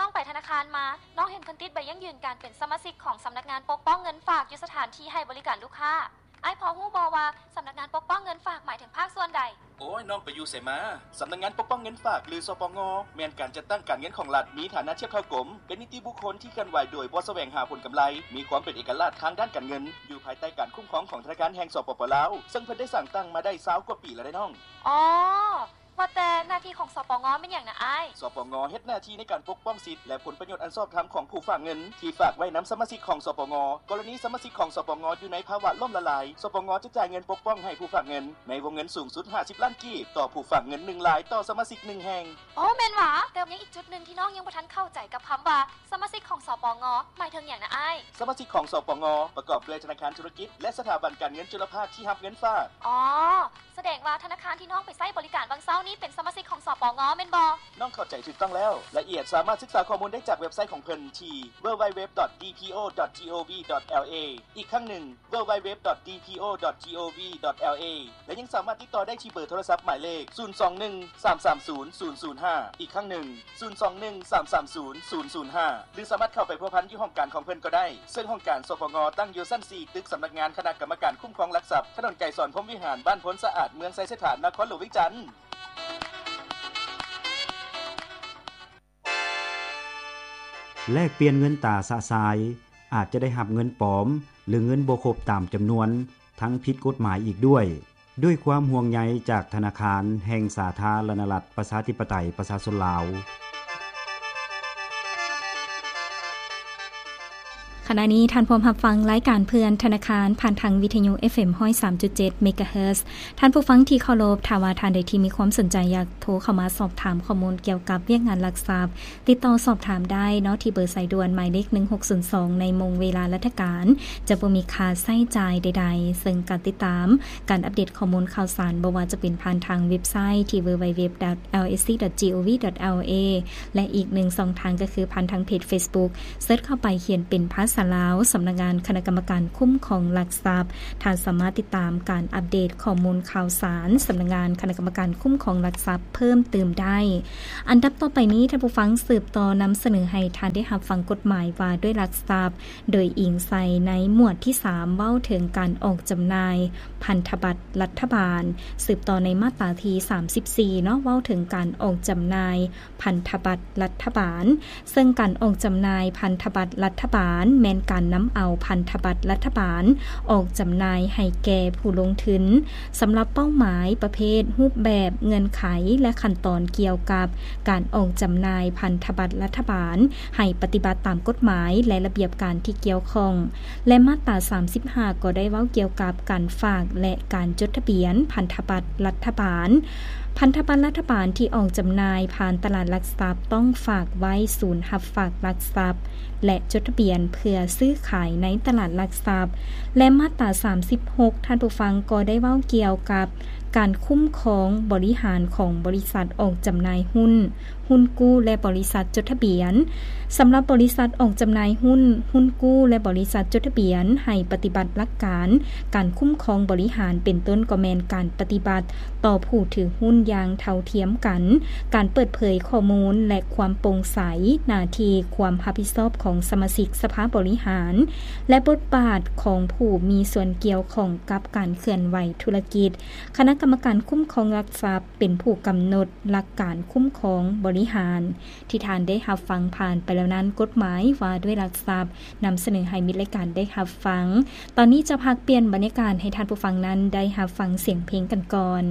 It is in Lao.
ນ້ອງໄປທະນາຄານມາ, ນ້ອງເຫັນເພິ່ນຕິດໃບຢັ້ງຢືນການເປັນສະມາຊິກຂອງສຳນັກງານປົກປ້ອງເງິນຝາກຢູ່ສະຖານທີ່ໃຫ້ບໍລິການລູກຄ້າ. ອ້າຍພໍຮູ້ບໍ່ວ່າສຳນັກງານປົກປ້ອງເງິນຝາກໝາຍເຖິງພາກສ່ວນໃດ? ໂອ້ຍ, ນ້ອງໄປຢູ່ໃສມາ? ສຳນັກງານປົກປ້ອງເງິນຝາກ ຫຼື ສປງ ແມ່ນການຈັດຕັ້ງການເງິນຂອງລັດ, ມີຖານະທຽບເທົ່າກົມ, ເປັນນິຕິບຸກຄົນທີ່ເຄື່ອນໄຫວໂດຍບໍ່ສະແຫວງຫາຜົນກຳໄລ, ມີຄວາມເປັນເອກະລາດທາງດ້ານການເງິນ, ຢູ່ພາຍໃຕ້ການຄຸ້ມຄອງຂອງທະນາຄານແຫ່ງ ສປປ ລາວ, ເຊິ່ງເພິ່ນໄດ້ສ້າງຕັ້ງມາໄດ້ຊາວກວ່າປີແລ້ວເດ້ນ້ອງ. ອໍ ວ່າແຕ່ໜ້າທີ່ຂອງ ສປງ ແມ່ນຫຍັງນະອ້າຍ? ສປງ ເຮັດໜ້າທີ່ໃນການປົກປ້ອງສິດ ແລະ ຜົນປະໂຫຍດອັນຊອບທຳຂອງຜູ້ຝາກເງິນທີ່ຝາກໄວ້ນຳສະມາຊິກຂອງ ສປງ. ກໍລະນີສະມາຊິກຂອງ ສປງ ຢູ່ໃນພາວະລົ້ມລະລາຍ, ສປງ ຈະຈ່າຍເງິນປົກປ້ອງໃຫ້ຜູ້ຝາກເງິນໃນວົງເງິນສູງສຸດຫ້າສິບລ້ານກີບຕໍ່ຜູ້ຝາກເງິນໜຶ່ງລາຍຕໍ່ສະມາຊິກໜຶ່ງແຫ່ງ. ໂອ້ ແມ່ນຫວາ? ແຕ່ຍັງອີກຈຸດໜຶ່ງທີ່ນ້ອງຍັງບໍ່ທັນເຂົ້າໃຈກັບຄຳວ່າສະມາຊິກຂອງ ສປງ ໝາຍເຖິງຫຍັງນະອ້າຍ? ສະມາຊິກຂອງ ສປງ ປະກອບດ້ວຍທະນາຄານທຸລະກິດ ແລະ ສະຖາບັນການເງິນຈຸລະພາກທີ່ຮັບເງິນຝາກ. ອໍ ສະແດງວ່າທະນາຄານທີ່ນ້ອງໄປໃຊ້ບໍລິການຫວ່າງເຊົ້ານີ້ເປັນສະມາຊິກຂອງ ສປງ ແມ່ນບໍ່? ນ້ອງເຂົ້າໃຈຖືກຕ້ອງແລ້ວ. ລາຍລະອຽດສາມາດສຶກສາຂໍ້ມູນໄດ້ຈາກເວັບໄຊຂອງເພິ່ນທີ່ www.dpo.gov.la ອີກຄັ້ງໜຶ່ງ www.dpo.gov.la ແລະ ຍັງສາມາດຕິດຕໍ່ໄດ້ທີ່ເບີໂທລະສັບໝາຍເລກ ສູນສອງໜຶ່ງ ສາມສາມສູນ ສູນສູນຫ້າ ອີກຄັ້ງໜຶ່ງ ສູນສອງໜຶ່ງ ສາມສາມສູນ ສູນສູນຫ້າ ຫຼື ສາມາດເຂົ້າໄປພົວພັນຢູ່ຫ້ອງການຂອງເພິ່ນກໍໄດ້, ເຊິ່ງຫ້ອງການ ສປງ ຕັ້ງຢູ່ຊັ້ນສີ່ ຕຶກສຳນັກງານຄະນະກຳມະການຄຸ້ມຄອງຫຼັກຊັບ, ຖະໜົນໄກສອນ ພົມວິຫານ, ບ້ານໂພນສະອາດ, ເມືອງໄຊເສດຖາ, ນະຄອນຫຼວງວຽງຈັນ. ແລກປ່ຽນເງິນຕາຊະຊາຍ ອາດຈະໄດ້ຮັບເງິນປອມ ຫຼື ເງິນບໍ່ຄົບຕາມຈຳນວນ ທັງຜິດກົດໝາຍອີກດ້ວຍ. ດ້ວຍຄວາມຫ່ວງໃຍຈາກທະນາຄານແຫ່ງສາທາລະນະລັດ ປະຊາທິປະໄຕ ປະຊາຊົນລາວ. ຂະນະນີ້ທ່ານພວມຮັບຟັງລາຍການເພື່ອນທະນາຄານ ຜ່ານທາງວິທະຍຸ ເອັຟເອັມ ຮ້ອຍສາມຈຸດເຈັດ ເມກາເຮີດ. ທ່ານຜູ້ຟັງທີ່ເຄົາລົບ, ຖ້າວ່າທ່ານໃດທີ່ມີຄວາມສົນໃຈຢາກໂທເຂົ້າມາສອບຖາມຂໍ້ມູນກ່ຽວກັບວຽກງານຫຼັກຊັບ, ຕິດຕໍ່ສອບຖາມໄດ້ເນາະ ທີ່ເບີສາຍດ່ວນໝາຍເລກ ໜຶ່ງຫົກສູນສອງ ໃນໂມງເວລາລັດຖະການ ຈະບໍ່ມີຄ່າໃຊ້ຈ່າຍໃດໆ, ເຊິ່ງການຕິດຕາມ ການອັບເດດຂໍ້ມູນຂ່າວສານ ບໍ່ວ່າຈະເປັນຜ່ານທາງເວັບໄຊທີ່ www.lsc.gov.la ແລະ ອີກໜຶ່ງຊ່ອງທາງກໍຄືຜ່ານທາງເພຈເຟສບຸກ ເສີດເຂົ້າໄປຂຽນເປັນພາສາລາວ ສຳນັກງານຄະນະກຳມະການຄຸ້ມຄອງຫຼັກຊັບ, ທ່ານສາມາດຕິດຕາມການອັບເດດຂໍ້ມູນຂ່າວສານ ສຳນັກງານຄະນະກຳມະການຄຸ້ມຄອງຫຼັກຊັບເພີ່ມຕື່ມໄດ້. ອັນດັບຕໍ່ໄປນີ້ ທ່ານຜູ້ຟັງ ສືບຕໍ່ນຳສະເໜີໃຫ້ທ່ານໄດ້ຮັບຟັງກົດໝາຍວ່າດ້ວຍຫຼັກຊັບ ໂດຍອີງໃສ່ໃນໝວດທີສາມ ເວົ້າເຖິງການອອກຈຳໜ່າຍພັນທະບັດລັດຖະບານ, ສືບຕໍ່ໃນມາດຕາທີສາມສິບສີ່ເນາະ ເວົ້າເຖິງການອອກຈຳໜ່າຍພັນທະບັດລັດຖະບານ, ເຊິ່ງການອອກຈຳໜ່າຍພັນທະບັດລັດຖະບານ ແມ່ນການນຳເອົາພັນທະບັດລັດຖະບານອອກຈຳໜ່າຍໃຫ້ແກ່ຜູ້ລົງທຶນ. ສຳລັບເປົ້າໝາຍ, ປະເພດ, ຮູບແບບ, ເງື່ອນໄຂ ແລະ ຂັ້ນຕອນກ່ຽວກັບການອອກຈຳໜ່າຍພັນທະບັດລັດຖະບານ ໃຫ້ປະຕິບັດຕາມກົດໝາຍ ແລະ ລະບຽບການທີ່ກ່ຽວຂ້ອງ ແລະ ມາດຕາສາມສິບຫ້າ ກໍໄດ້ເວົ້າກ່ຽວກັບການຝາກ ແລະ ການຈົດທະບຽນພັນທະບັດລັດຖະບານ. ພັນທະບັດລັດຖະບານທີ່ອອກຈຳໜ່າຍຜ່ານຕະຫຼາດຫຼັກຊັບ ຕ້ອງຝາກໄວ້ສູນຮັບຝາກຫຼັກຊັບ ແລະ ຈົດທະບຽນເພື່ອຊື້ຂາຍໃນຕະຫຼາດຫຼັກຊັບ ແລະ ມາດຕາສາມສິບຫົກ ທ່ານຜູ້ຟັງ ກໍໄດ້ເວົ້າກ່ຽວກັບການຄຸ້ມຄອງບໍລິຫານຂອງບໍລິສັດອອກຈຳໜ່າຍຫຸ້ນ, ຫຸ້ນກູ້ ແລະ ບໍລິສັດຈົດທະບຽນ. ສຳລັບບໍລິສັດອອກຈຳໜ່າຍຫຸ້ນ, ຫຸ້ນກູ້ ແລະ ບໍລິສັດຈົດທະບຽນ ໃຫ້ປະຕິບັດຫຼັກການການຄຸ້ມຄອງບໍລິຫານ ເປັນຕົ້ນກໍແມ່ນການປະຕິບັດ ຕໍ່ຜູ້ຖືຫຸ້ນຢ່າງເທົ່າທຽມກັນ, ການເປີດເຜີຍຂໍ້ມູນ ແລະ ຄວາມໂປ່ງໃສ, ໜ້າທີ່ຄວາມຮັບຜິດຊອບຂອງສະມາຊິກສະພາບໍລິຫານ ແລະ ບົດບາດຂອງຜູ້ມີສ່ວນກ່ຽວຂ້ອງກັບການເຄື່ອນໄຫວທຸລະກິດ. ຄະນະກຳມະການຄຸ້ມຄອງຫຼັກຊັບເປັນຜູ້ກຳນົດຫຼັກການຄຸ້ມຄອງບໍລິຫານ. ທີ່ທ່ານໄດ້ຮັບຟັງຜ່ານໄປແລ້ວນັ້ນ ກົດໝາຍວ່າດ້ວຍຫຼັກຊັບ ນຳສະເໜີໃຫ້ມິດລາຍການໄດ້ຮັບຟັງ. ຕອນນີ້ຈະພັກປ່ຽນບັນຍາກາດໃຫ້ທ່ານຜູ້ຟັງນັ້ນໄດ້ຮັບຟັງສຽງເພງກັນກ່ອນ.